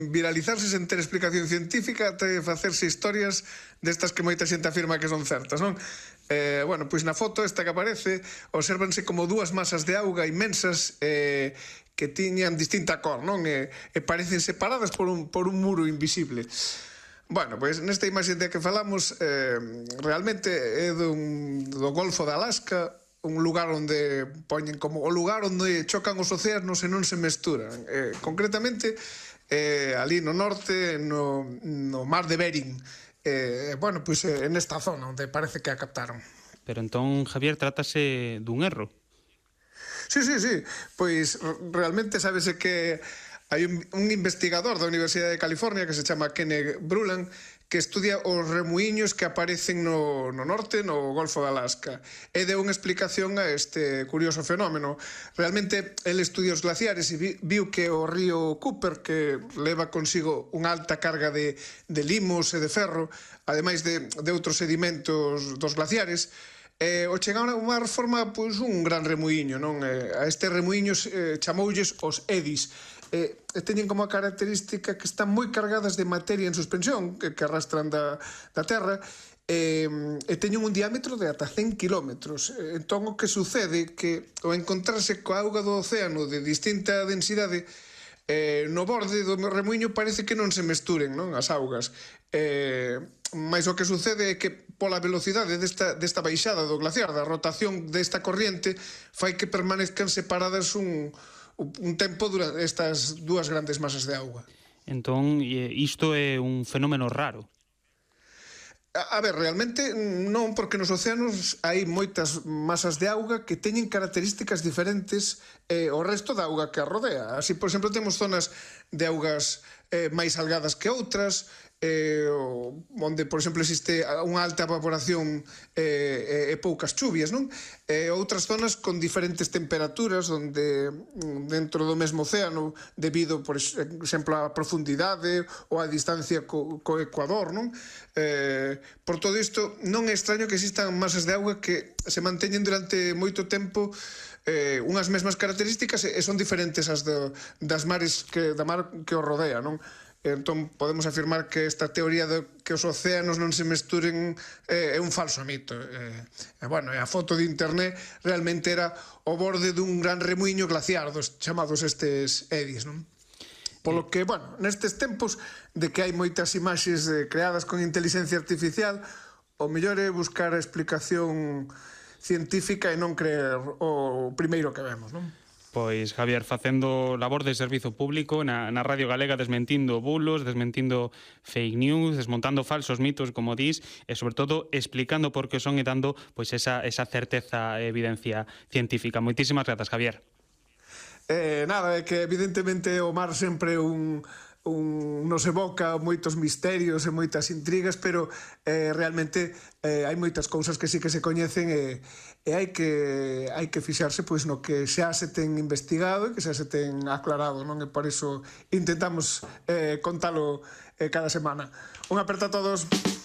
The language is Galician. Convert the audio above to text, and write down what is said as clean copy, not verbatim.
viralizarse sen ter explicación científica até facerse historias destas que moita xente afirma que son certas, non? Bueno, pois na foto esta que aparece obsérvanse como dúas masas de auga inmensas que tiñan distinta cor, non? E parecen separadas por un muro invisible. Bueno, pois nesta imaxe de que falamos realmente é do Golfo de Alaska, un lugar onde poñen como o lugar onde chocan os océanos e non se mesturan. Concretamente, ali no norte, no mar de Bering. Bueno, pois nesta zona onde parece que a captaron. Pero entón, Javier, trátase dun erro. Sí. Pois realmente sábese que hai un investigador da Universidade de California que se chama Kenneth Bruland que estudia os remuíños que aparecen no norte, no Golfo de Alaska, e deu unha explicación a este curioso fenómeno. Realmente, el estudia os glaciares e viu que o río Cooper, que leva consigo unha alta carga de limos e de ferro, ademais de outros sedimentos dos glaciares, o chegaron a mar forma un gran remuíño, non? A estes remuíños chamoulles os eddies, teñen como a característica que están moi cargadas de materia en suspensión que arrastran da terra e teñen un diámetro de ata 100 kilómetros. Entón o que sucede que ao encontrarse coa auga do océano de distinta densidade no borde do remuíño parece que non se mesturen, non, as augas, mas o que sucede é que pola velocidade desta baixada do glaciar, da rotación desta corriente, fai que permanezcan separadas un tempo durante estas dúas grandes masas de auga. Entón, isto é un fenómeno raro. A ver, realmente non, porque nos océanos hai moitas masas de auga que teñen características diferentes ao resto da auga que a rodea. Así, por exemplo, temos zonas de augas máis salgadas que outras, onde, por exemplo, existe unha alta evaporación e poucas chuvias, non? Outras zonas con diferentes temperaturas, onde dentro do mesmo océano, debido, por exemplo, á profundidade ou á distancia co Ecuador, non? Por todo isto, non é extraño que existan masas de auga que se manteñen durante moito tempo unhas mesmas características e son diferentes as das mares da mar que os rodea, non? Entón podemos afirmar que esta teoría de que os océanos non se mesturen é un falso mito. Bueno, a foto de internet realmente era o borde dun gran remuíño glaciar dos chamados estes eddies, non? Polo que, bueno, nestes tempos de que hai moitas imaxes creadas con inteligencia artificial, o mellor é buscar a explicación científica e non creer o primeiro que vemos, non? Pois, Javier, facendo labor de servizo público na Radio Galega, desmentindo bulos, desmentindo fake news, desmontando falsos mitos, como dís, e, sobre todo, explicando por que son e dando esa certeza e evidencia científica. Moitísimas grazas, Javier. Nada, é que evidentemente o mar sempre nos evoca moitos misterios e moitas intrigas, pero realmente hai moitas cousas que sí que se coñecen e hai que fixarse no que xa se ten investigado e que xa se ten aclarado, non? E por iso intentamos contalo cada semana. Un aperto a todos.